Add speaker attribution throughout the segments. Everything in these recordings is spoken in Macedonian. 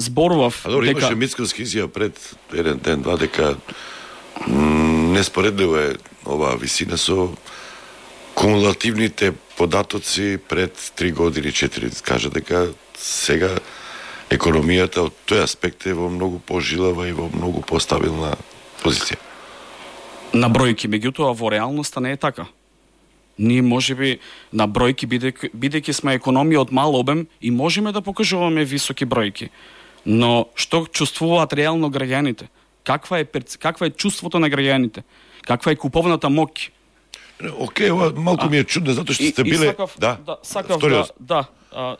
Speaker 1: зборував
Speaker 2: дека имаше Мицкоски изјава пред еден ден, два, дека неспоредливо е оваа висина со кумулативните податоци пред 3 години, 4, кажа дека сега економијата од тој аспект е во многу пожилава и во многу постабилна позиција.
Speaker 1: На бројки, меѓутоа во реалноста не е така. Ние можеби на бројки, бидејќи сме економија од мал обем, и можеме да покажуваме високи бројки. Но што чувствуваат реално граѓаните? Каква е чувството на граѓаните? Каква е куповната моќ?
Speaker 2: Океј, ова малку ми е чудно, затоа што сте биле...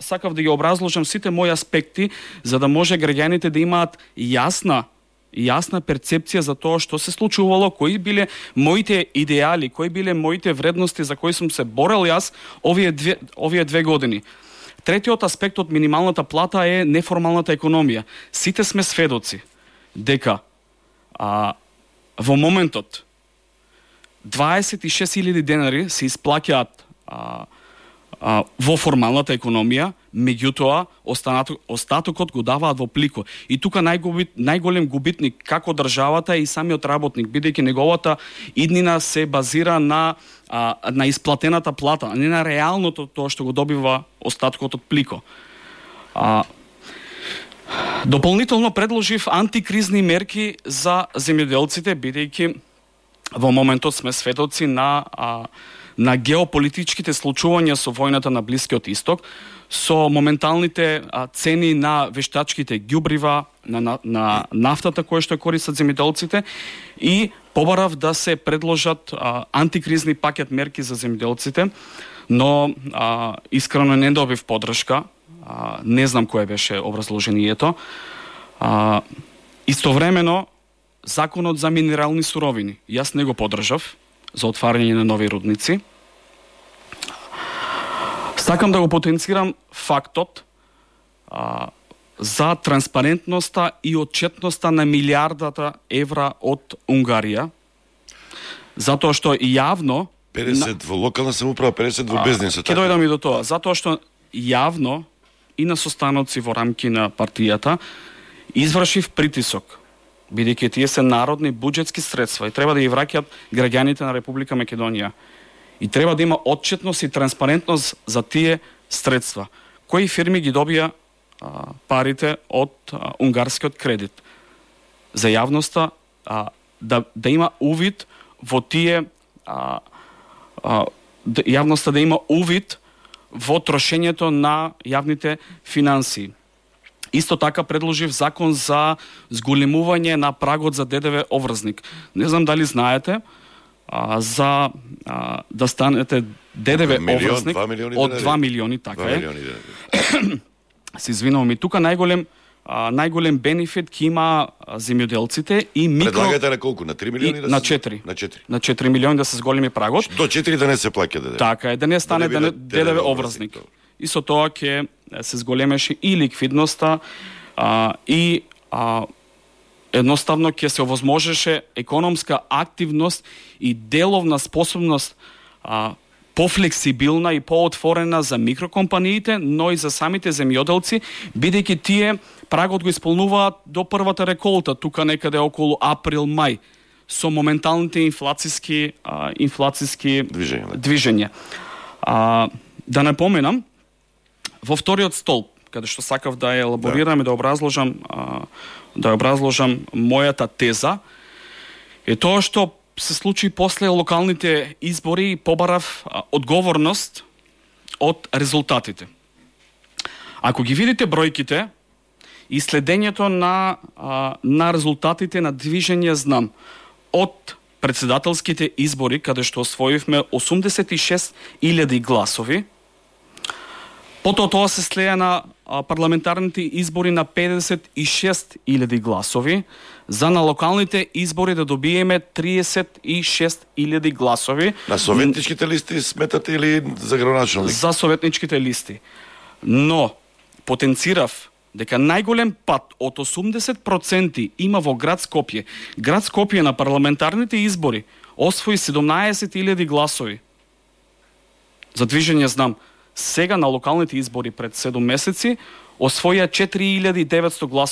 Speaker 1: Сакав да ги образложам сите мои аспекти, за да може граѓаните да имаат јасна перцепција за тоа што се случувало, кои биле моите идеали, кои биле моите вредности за кои сум се борел јас овие 2 години. Третиот аспект од минималната плата е неформалната економија. Сите сме сведоци дека во моментот 26.000 денари се исплаќаат во формалната економија, меѓутоа остатокот го даваат во плико. И тука најголем губитник како државата и самиот работник, бидејќи неговата иднина се базира на исплатената плата, а не на реалното тоа што го добива остаткот од плико. Дополнително предложив антикризни мерки за земјоделците, бидејќи во моментот сме сведоци на геополитичките случувања со војната на Блискиот Исток, со моменталните цени на вештачките ѓубрива, на нафтата која што користат земјоделците, и побарав да се предложат антикризни пакет мерки за земјоделците, но искрено не добив поддршка. Не знам кое беше образложението. Истовремено, законот за минерални суровини, јас не го поддржав, за отварање на нови рудници. Сакам да го потенцирам фактот за транспарентноста и отчетноста на милиардата евра од Унгарија, затоа што јавно
Speaker 2: 50 во локална самоуправа, 50 во бизнисот.
Speaker 1: Ќе дојдам и до тоа, затоа што јавно и на состаноци во рамки на партијата извршив притисок, бидејќи тие се народни буџетски средства и треба да ги враќаат граѓаните на Република Македонија. И треба да има отчетност и транспарентност за тие средства. Кои фирми ги добија парите од унгарскиот кредит? За јавноста да има увид во тие јавноста да има увид во трошењето на јавните финансии. Исто така предложив закон за зголемување на прагот за ДДВ обврзник. Не знам дали знаете, за да станете ДДВ обврзник од 2 милиони, така е. Се извинувам, и тука најголем бенефит ќе има земјоделците и микро...
Speaker 2: Предлагате на колку? На 3 милиони?
Speaker 1: На 4. На 4 милиони да се зголеми прагот.
Speaker 2: До 4 да не се плаќа ДДВ.
Speaker 1: Така е, да не стане ДДВ обврзник. И со тоа ќе се зголемеше и ликвидноста и едноставно ќе се овозможеше економска активност и деловна способност пофлексибилна и поотворена за микрокомпаниите, но и за самите земјоделци, бидејќи тие прагот го исполнуваат до првата реколта, тука некаде околу април-мај, со моменталните инфлацијски движења. Да напоменам, во вториот столб, каде што сакав да ја елаборирам и да образложам мојата теза, е тоа што се случи после локалните избори и побарав одговорност од резултатите. Ако ги видите бројките и следењето на резултатите на движење знам од председателските избори, каде што освоивме 86.000 гласови, потоа тоа се слеја на парламентарните избори на 56.000 гласови, за на локалните избори да добиеме 36.000 гласови.
Speaker 2: На советничките листи сметате или за градоначалник?
Speaker 1: За советничките листи. Но потенцирав дека најголем пат од 80% има во град Скопје. Град Скопје на парламентарните избори освои 17.000 гласови. За движење знам. Сега на локалните избори пред 7 месеци освоја 4.900 гласови.